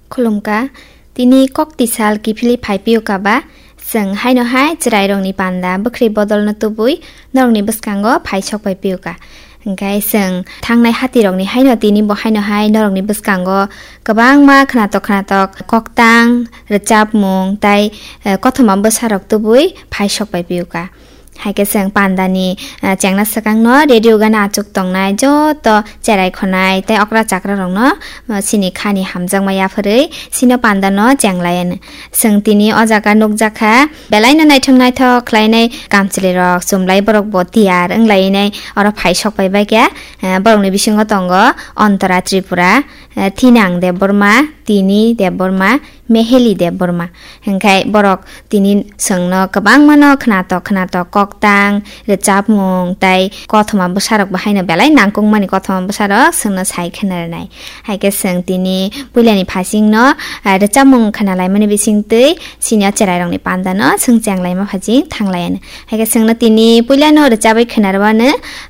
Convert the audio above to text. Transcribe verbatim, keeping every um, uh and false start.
Khulumkha, tini kok tisal kiphilwi phai piyokha ba, chwng haino hai chwrairokni panda bwkhri bodolno tubui norokni bwskango phai sok pai piyokha. Hwnkhe chwng thangnai hatirokni haino tini bo haino hai norokni bwskango kwbangma khwnatok khwnatok koktang, rwchapmung tei, eh, kothoma bwsarok tubui phai sok pai piyokha. Hai khe chwng pandani, ah, chengna swkangno radio gana achuk tongnai joto cherai khonai tei okra chakra rokno, ah, chini khani hamjakma yapharwi chini pandano chenglaiyano. Chwng tini o jaga nukjakha, belaino naithok naithok khlainai kamchwlwi rok, chumlai borok bo tiyar wnglainai oro phai sok pai baikha, ah, borokni bisingo tongo Antara Tripura, eh, Thinang Debbarma, Tini Debbarma, Meheli Debbarma. Hwnkhe borok tini chwngno kwbangmano khwnatok khwnatok koktang, rwchapmung tei kothoma bwsarok bo haino belai nangkukmani kothoma bwsarok chwngno sai khwna rwnai. Hai khe chwng tini puilani phasingno, eh, rwchapmung khwnalaimani bisingtwi chini o cherairokni pandano chwng chenglaima phasing thanglaiyano. Hai khe chwngno tini puilano rwchabwi khwna rwmano,